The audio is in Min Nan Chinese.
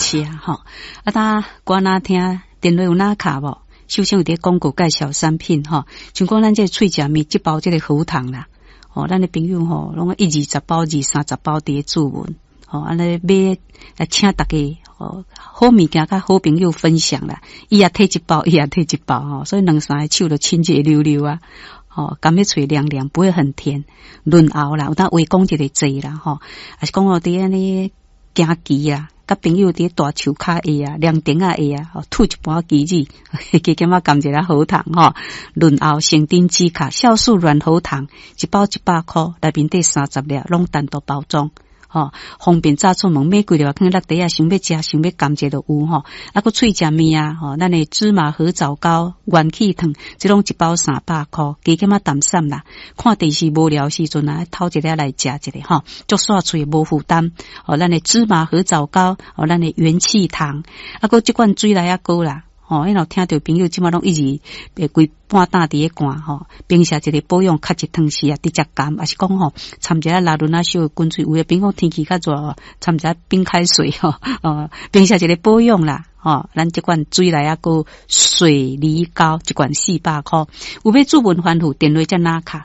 謝吼。啊，呾歌若聽電話有哪卡無？首先有佇廣告介紹產品吼，像講咱這個喙食蜜，這包這個喉糖啦，吼，咱的朋友吼，攏一二十包、二三十包佇咧注文，吼，按呢買來請大家，吼，好物件佮好朋友分享啦，伊也提一包，伊也提一包吼，所以兩三個手就親熱溜溜啊。吼，甘咧喙涼涼，不會很甜，潤喉啦，有當話講一個濟啦，吼，抑是講哦，佇按呢行棋啊，佮朋友佇大樹跤下啊，涼亭仔下啊，吐一盤棋子，加減仔含一下喉糖吼，潤喉生津止渴，酵素軟喉糖，一包100箍，內面底30粒，攏單獨包裝。吼，方便早出門買幾粒，囥落袋仔，想欲食，想欲含者就有吼。啊，閣喙食麵啊，吼，咱的芝麻核棗糕、元氣糖，這攏一包300箍，加減仔淡散啦。看電視無聊時陣啊，偷一粒來食一下吼，足煞喙無負擔。吼，咱的芝麻核棗糕，吼，咱的元氣糖，啊，閣這罐水螺仔糕啦。吼，因為聽著朋友這馬攏一直規半晝佇咧灌吼，平時一個保養較一湯匙啊，直接含，抑是講吼，摻一下拉圇仔燒的滾水，有的朋友天氣較熱，摻一下冰開水吼，哦，平時一個保養啦，吼，咱這罐水螺仔糕水梨糕一罐400箍，有欲注文吩咐電話才拿卡。